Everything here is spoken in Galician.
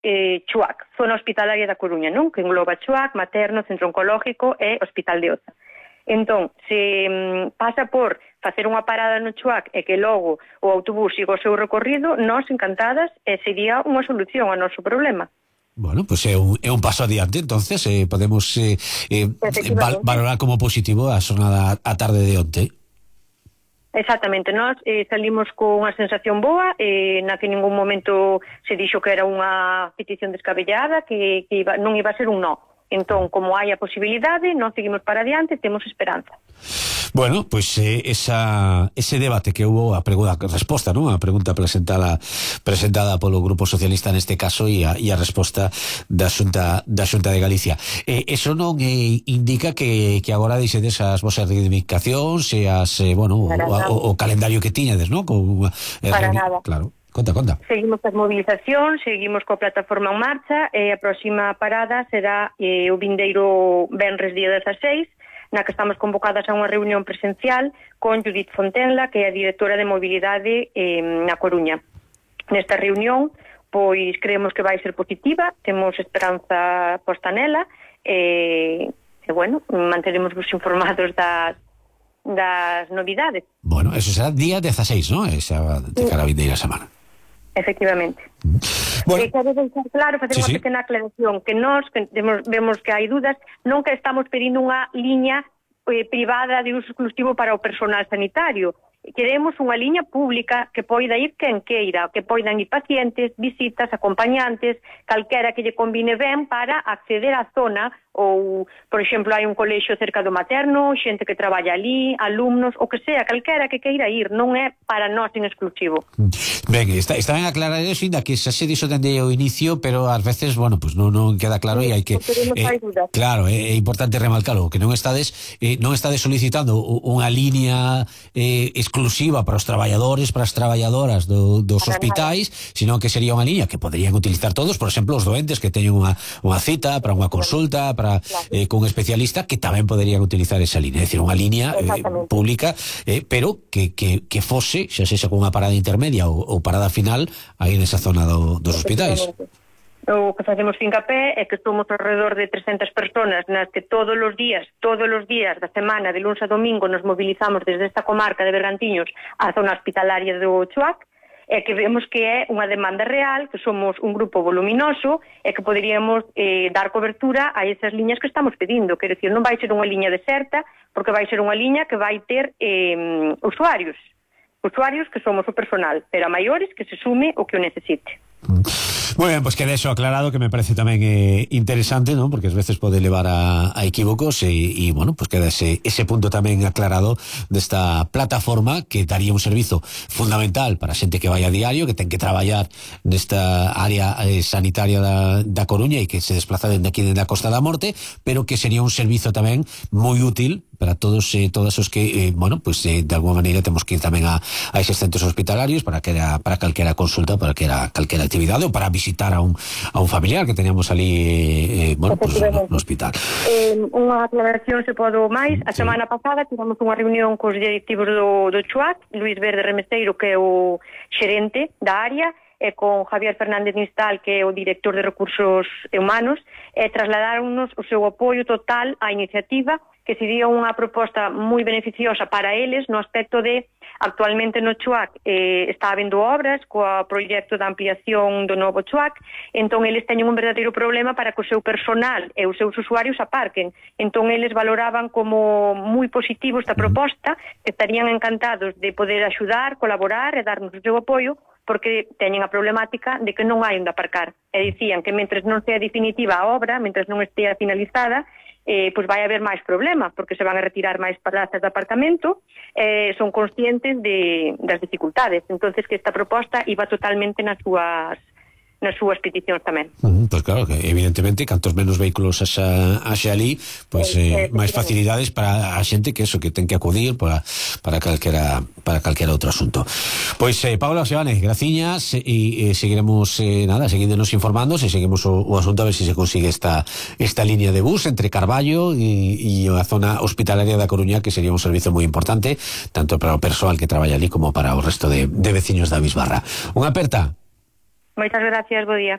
Chuac, zona hospitalaria da Coruña, non? Que engloba Chuac, Materno, Centro Oncológico e Hospital de Oza. Entón, se pasa por facer unha parada no Chuac e que logo o autobús siga o seu recorrido, nós encantadas, sería unha solución ao noso problema. Bueno, pues é un paso adiante, entonces podemos valorar como positivo a xornada a tarde de onte. Exactamente, nós salimos con unha sensación boa, na que en ningún momento se dixo que era unha petición descabellada, que non iba a ser un no. Entón, como hai a posibilidade, nós seguimos para adiante, temos esperanza. Bueno, pues ese debate que hubo, a resposta, ¿no? A pregunta presentada polo Grupo Socialista neste caso e a resposta da Xunta de Galicia. Eso non indica que agora deixedes as vosas reivindicacións e o calendario que tiñades, ¿no? Para nada. Claro. Conta. Seguimos as movilizacións, seguimos coa plataforma en marcha e a próxima parada será o vindeiro venres día 16, na que estamos convocadas a unha reunión presencial con Judith Fontenla, que é a directora de mobilidade na Coruña. Nesta reunión, pois creemos que vai ser positiva, temos esperanza posta nela e manteremos vos informados das novidades. Bueno, eso será día 16, ¿no? Esa de cara a vindeira semana. Efectivamente. Bueno. Quero deixar claro, facer unha pequena aclaración, que nós vemos que hai dudas, non que estamos pedindo unha liña privada de uso exclusivo para o personal sanitario. Queremos unha liña pública que poida ir quen queira, que poidan ir pacientes, visitas, acompañantes, calquera que lle combine ben para acceder á zona, ou, por exemplo, hai un colexio cerca do Materno, xente que traballa ali, alumnos, o que sea, calquera que queira ir, non é para nós en exclusivo. Ben, está ben aclarar eso, ainda que xa se dixo dende o inicio, pero ás veces, pues non queda claro e hai que... Claro, é importante remarcarlo, que non estades solicitando unha liña exclusiva para os traballadores, para as traballadoras dos hospitais, sino que sería unha liña que poderían utilizar todos, por exemplo, os doentes que teñen unha cita para unha consulta, con un especialista, que tamén poderían utilizar esa línea, é dicir, unha línea pública, pero que fose, xa sexa con unha parada intermedia ou parada final aí nesa zona dos hospitais. O que facemos fincapé é que somos alrededor de 300 personas nas que todos os días da semana, de luns a domingo, nos mobilizamos desde esta comarca de Bergantiños á zona hospitalaria do Chuac, e que vemos que é unha demanda real, que somos un grupo voluminoso e que poderíamos dar cobertura a esas liñas que estamos pedindo. Quero dicir, non vai ser unha liña deserta, porque vai ser unha liña que vai ter usuarios que somos o personal, pero a maiores que se sume o que o necesite. Muy bien, pues queda eso aclarado, que me parece tamén interesante, ¿no? Porque ás veces pode levar a equívocos e bueno, pues queda ese punto tamén aclarado desta plataforma que daría un servizo fundamental para a xente que vai a diario, que ten que traballar nesta área sanitaria da Coruña e que se desplaza dende aquí, dende a Costa da Morte, pero que sería un servizo tamén moi útil para todos os que, de alguna maneira temos que ir tamén a eses centros hospitalarios para calquera consulta, para calquera actividade ou para visitar a un familiar que teníamos ali no hospital. Unha aclaración se podo máis. A semana pasada tivemos unha reunión cos directivos do Chuac, Luis Verde Remeseiro, que é o xerente da área, e con Javier Fernández Nistal, que é o director de Recursos Humanos, e trasladaronnos o seu apoio total á iniciativa, que sería unha proposta moi beneficiosa para eles no aspecto de, actualmente no Chuac está habendo obras coa proxecto de ampliación do novo Chuac, entón eles teñen un verdadeiro problema para que o seu personal e os seus usuarios aparquen. Entón eles valoraban como moi positivo esta proposta, que estarían encantados de poder axudar, colaborar e darnos o seu apoio, porque teñen a problemática de que non hai onde aparcar. E dicían que mentres non sea definitiva a obra, mentres non estea finalizada, pois vai haber máis problemas, porque se van a retirar máis plazas de aparcamento, son conscientes das dificultades. Entonces que esta proposta iba totalmente nas súas peticións tamén. Pois claro, que evidentemente cantos menos vehículos haxa ali, pois máis facilidades para a xente que ten que acudir para calquera outro asunto. Pois Paula Seoane, graciñas, e seguiremos seguíndonos informando, se seguimos o asunto, a ver se consigue esta línea de bus entre Carballo e a zona hospitalaria da Coruña, que sería un servizo moi importante tanto para o persoal que traballa ali como para o resto de veciños da Bisbarra. Unha aperta. Moitas gracias, bo día.